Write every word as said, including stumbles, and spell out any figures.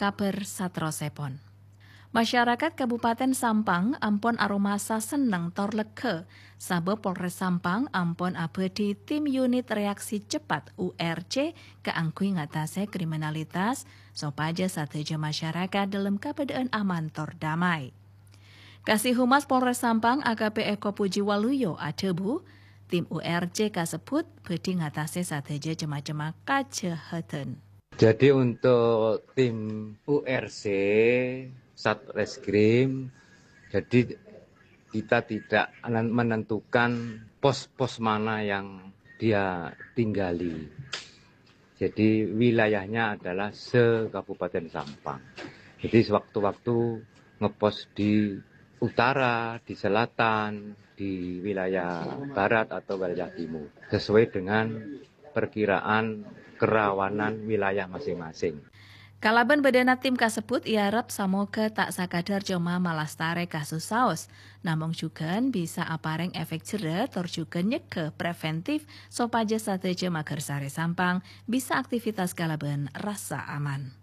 Kabhâr saterrossèpon. Masyarakat Kabupaten Sampang ampon aromasa senneng tor lega, sabâb Polres Sampang ampon abâdhi tim unit reaksi cepat, U R C, kaangghuy ngatasè kriminalitas, sopajâ sadhâjâ masyarakat dhâlem kabâdâ'ân aman tor damai. Kasih Humas Polres Sampang, A K P Eko Pujiwaluyo, adhâbu, tim U R C kasebbhut bhâdhi ngatasè sadhâjâ cem-macemma kajâhâdhân. Jadi, untuk tim U R C, Satreskrim, jadi kita tidak anan-, menentukan pos-pos mana yang dia tinggali. Jadi, wilayahnya adalah se-Kabupaten Sampang. Jadi, sewaktu-waktu ngepos di utara, di selatan, di wilayah barat atau wilayah timur, sesuai dengan perkiraan kerawanan wilayah masing-masing. Kalabân bâdâna tim kasebbhut èarep samoghâ ta' sakadhâr coma malastarè kasus saos, namong jhughân bisa aparèng efek jherrâ tor jhughân nyegghâ preventif sopajâ sadhâjâ maghârsarè Sampang bisa aktivitas kalabân rassa aman.